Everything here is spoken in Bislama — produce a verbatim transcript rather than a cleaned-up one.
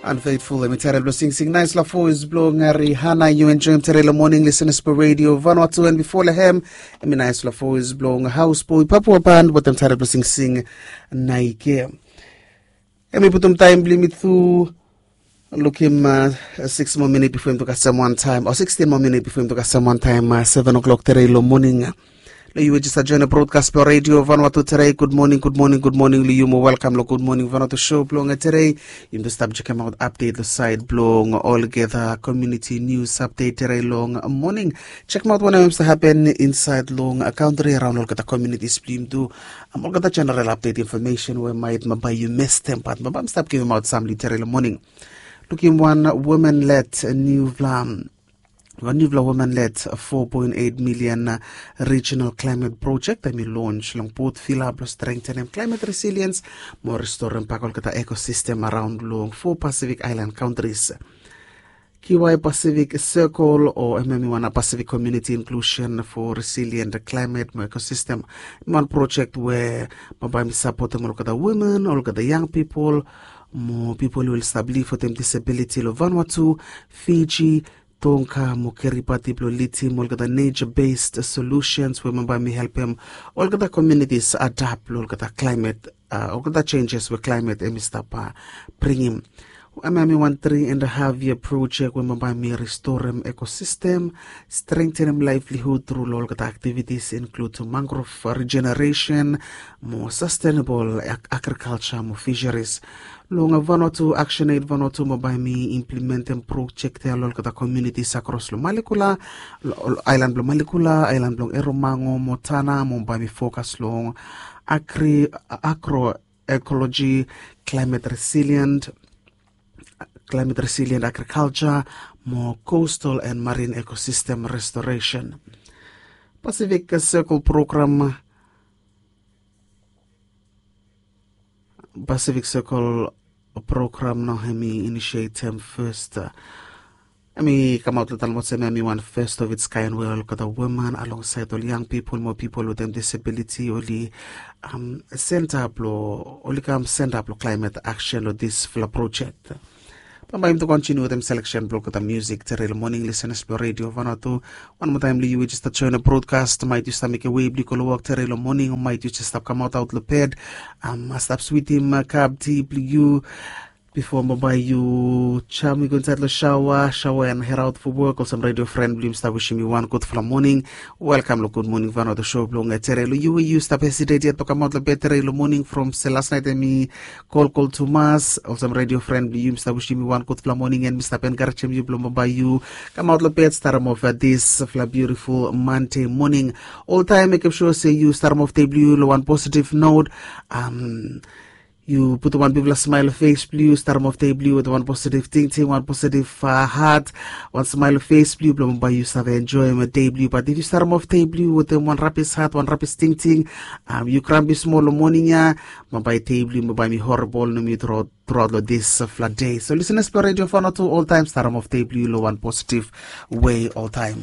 Unfaithful, em i taitol blong singsing naisfala voes blong Rihana. Yu enjoim tede long moning, listening to Radio Vanuatu, and before lehem, em i naisfala voes blong Houseboy Papua Band wetem taitol blong singsing Naike. Em i putum taim blong yumi tu lukim uh, six more minute before him to kasem one time, or sixteen more minute before him to kasem one time, uh, seven o'clock tede long moning. Lo yu we jista join a broadcast blong Radio Vanuatu tede. Good morning, good morning, good morning lo yu, mo welcome lo Good Morning Vanuatu show blong tede. Yumi tu stap check out update lo side blong olgeta community news update tede long moning. Check out wanem sa happen inside long country around olgeta communities blong yumi tu. Am olgeta general update information we mait mabai yu mestem pat mabai mi stap givim out samli tede long moning. Lukim wan women led newvla wan newvla women led four point eight million regional climate project em i launch long Port Vila blong strengthenem climate resilience mo restorim pak olgeta ecosystem around long four Pacific Island countries. Kiwai Pacific Circle o em em i wan Pacific Community Inclusion for Resilient Climate mo Ecosystem. Em i wan project we mabai mi sapotem olgeta women, olgeta young people mo people we oli stap liv wetem disability lo Vanuatu, Fiji, Tonga mo Kiribati blong lidim olgeta nature based solutions we mabai mi helpem olgeta communities adapt lo olgeta climate uh, olgeta changes we climate em i stap uh, bringim. Em em i wan three and a half year project we mabai mi restorim ecosystem, strengthenim livelihood tru lo olgeta activities include mangrove regeneration mo sustainable agriculture mo fisheries. Long Vanuatu, Action Aid Vanuatu mabai mi implementem project ya lo olgeta communities across lo Malekula, island blong Malekula, island blong Eromango mo Tanna mo mabai mi focus long agri, agroecology, climate resilient, climate resilient agriculture mo coastal and marine ecosystem restoration. Pacific Circle Program, Pacific Circle Program no em i initiatem first. Em i kamaot lo talem olsem em i wan first of its kind we olgeta women alongside ol young people mo people wetem disability oli um, send up lo oli kam send up lo climate action lo disfala project. Bambae yumi tu kontiniu wetem selection blong olgeta music tede long moning, listeners blong Radio Vanuatu. Wan moa taim blong yu we jista join a broadcast, mait yu stap mekem wei blong yu go long wok tede long moning o mait yu jista stap kamaot aot long bed, um, stap switim uh, kap ti blong yu bifo bambae yu jam yu go insaed long shaoa, shaoa and head out for work. Olsem radio friend blong yumi stap wisim yu wan gudfala moning. Welkam long Good Morning Vanuatu show blong tede. Long yu we yu stap hesitate yet blong kamaot long bed tede long moning from se las naet em i kolkol tumas. Olsem radio friend blong yu mi stap wisim yu wan gudfala moning and mi stap enkarejem yu blong bambae yu kamaot long bed, starim of uh, disfala beautiful Monday moning. Oltaem mekem sua se yu starim of dei blong yu long wan positive note. Um, yu putum wan bigfala smael long fes blong yu, starim of dei blong yu wetem wan positive tingting, wan positive uh, hat, wan smael long fes blong yu blong bambae yu save enjoem dei blong yu. Bat if yu starim of dei blong yu wetem wan rabis hat, wan rabis tingting, um, yu krampi smol long moning ya, bambae dei blong yu bambae mi horibol nomo yu truaot long disfala dei. So lisenas blong Radio Vanuatu, oltaem starim of dei blong yu long wan positive wei oltaem.